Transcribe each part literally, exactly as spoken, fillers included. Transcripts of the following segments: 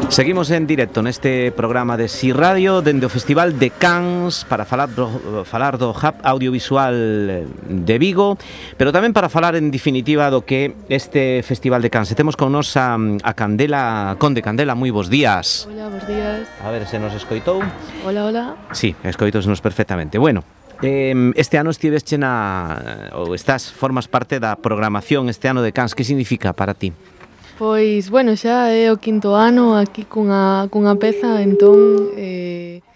Seguimos en directo neste programa de Si Radio dende o Festival de Cans para falar do, falar do Hub Audiovisual de Vigo, pero tamén para falar en definitiva do que este Festival de Cans. E temos con nos a, a Candela Conde. Candela, moi bons días. Hola, bons días. A ver se nos escoitou. Hola, hola. Sí, escoitosnos perfectamente. Bueno, eh, este ano estivesche na, ou estás, formas parte da programación este ano de Cans. Que significa para ti? Pois, bueno, xa é o quinto ano aquí cunha, cunha peza, entón, eh,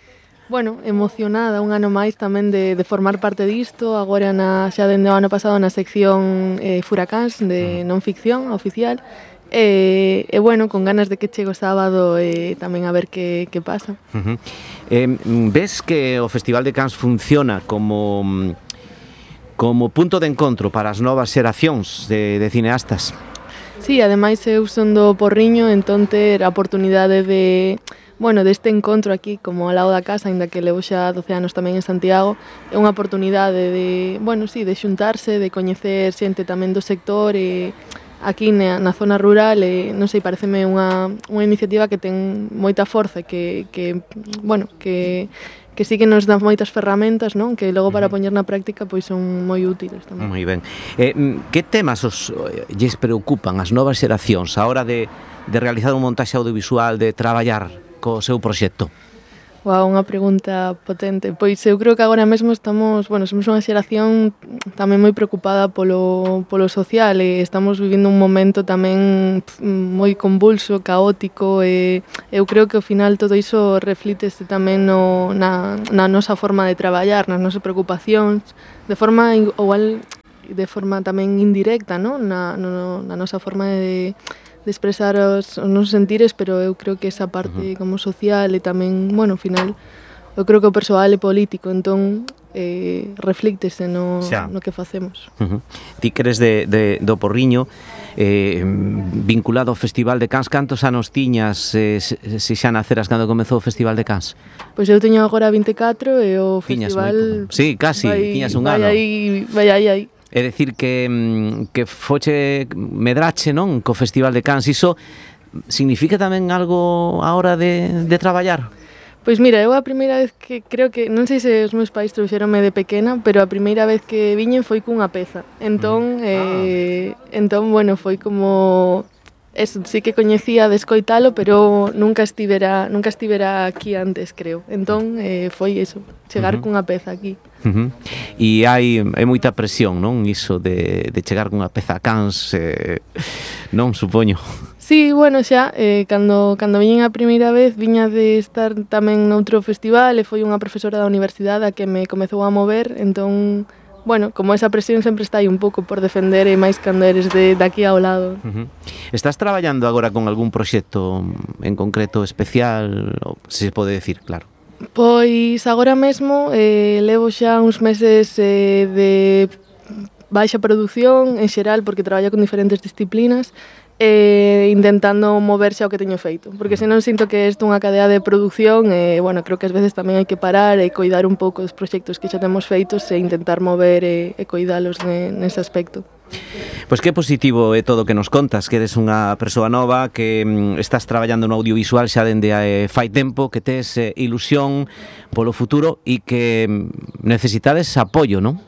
bueno, emocionada un ano máis tamén de, de formar parte disto, agora na, xa dende o ano pasado na sección eh, Furacáns de non ficción oficial, e, e bueno, con ganas de que chegue o sábado e eh, tamén a ver que, que pasa. Uh-huh. eh, ves que o Festival de Cans funciona como, como punto de encontro para as novas xeracións de, de cineastas? Sí, ademais eu son do Porriño, entón ter a oportunidade de, bueno, deste encontro aquí como ao lado da casa, aínda que levo xa doce anos tamén en Santiago, é unha oportunidade de, bueno, sí, de xuntarse, de coñecer xente tamén do sector e aquí na, na zona rural, e non sei, pareceme unha, unha iniciativa que ten moita forza, que, que bueno, que que sí que nos dan moitas ferramentas, non? Que logo para poñer na práctica pois son moi útiles tamén. Moi ben. Eh, que temas os lles preocupan as novas xeracións a hora de, de realizar un montaxe audiovisual, de traballar co seu proxecto? Wow, unha pregunta potente. Pois eu creo que agora mesmo estamos, bueno, somos unha xeración tamén moi preocupada polo, polo social e estamos vivindo un momento tamén moi convulso, caótico e eu creo que ao final todo iso reflítese tamén no, na, na nosa forma de traballar, nas nosas preocupacións, de forma igual de forma tamén indirecta, non? Na, no, na nosa forma de de expresar os, os nosos sentires, pero eu creo que esa parte como social e tamén, bueno, ao final, eu creo que o persoal é político, entón eh, reflíctese no, no que facemos. Uh-huh. Ti que eres de, de, do Porriño, eh, vinculado ao Festival de Cans, cantos anos tiñas eh, se xa naceras cando comezou o Festival de Cans? Pois eu teño agora vinte e catro e o tiñas festival... Sí, casi, vai, tiñas un vai ano. Aí, vai aí, aí. É dicir que, que foche medrache, non, co Festival de Cans. Iso significa tamén algo a hora de, de traballar? Pois mira, eu a primeira vez que creo que, non sei se os meus pais trouxeronme de pequena, pero a primeira vez que viñen foi cunha peza. Entón, eh, ah. entón bueno, foi como... Eso, sí que coñecía de escoitalo, pero nunca estivera, nunca estivera aquí antes, creo. Entón, eh, foi eso, chegar uh-huh. cunha peza aquí. Uh-huh. E hai é moita presión, non? Iso de, de chegar cunha peza a Cans, eh, non, supoño. Sí, bueno, xa, eh, cando, cando viñen a primeira vez, viña de estar tamén noutro festival e foi unha profesora da universidade a que me comezou a mover, entón... Bueno, como esa presión sempre está aí un pouco por defender e máis cando eres de, de aquí ao lado. Uh-huh. Estás traballando agora con algún proxecto en concreto especial, se pode decir, claro? Pois agora mesmo eh, levo xa uns meses eh, de baixa produción en xeral porque traballo con diferentes disciplinas e intentando moverse ao que teño feito, porque senón sinto que isto é unha cadea de produción e, bueno, creo que ás veces tamén hai que parar e coidar un pouco os proxectos que xa temos feitos e intentar mover e, e coidalos ne, nese aspecto. Pois que positivo é todo o que nos contas, que eres unha persoa nova, que mm, estás traballando no audiovisual xa dende eh, fai tempo, que tes eh, ilusión polo futuro e que mm, necesitades apoio, non?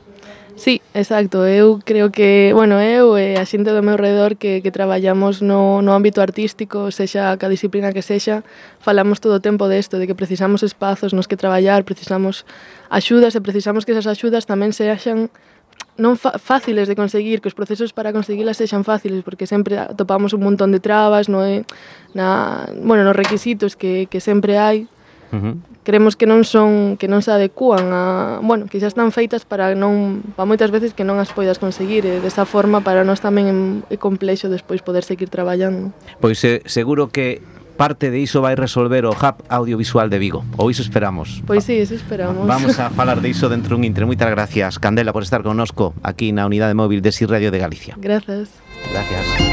Sí, exacto, eu creo que, bueno, eu e a xente do meu redor que, que traballamos no, no ámbito artístico, sexa ca disciplina que sexa, falamos todo o tempo desto, de que precisamos espazos nos que traballar, precisamos axudas e precisamos que esas axudas tamén sexan non fáciles de conseguir, que os procesos para conseguilas sexan fáciles, porque sempre topamos un montón de trabas, no é, na, bueno, nos requisitos que, que sempre hai. Uh-huh. Creemos que non son que non se adecúan a, bueno, que xa están feitas para non para moitas veces que non as poidas conseguir e desa forma para nós tamén é complexo despois poder seguir traballando. Pois eh, seguro que parte de iso vai resolver o Hub Audiovisual de Vigo, ou iso esperamos. Pois sí, eso esperamos. Vamos a falar de iso dentro dun intre. Moitas gracias, Candela, por estar connosco aquí na unidade móvil de Si Radio de Galicia. Gracias. Gracias.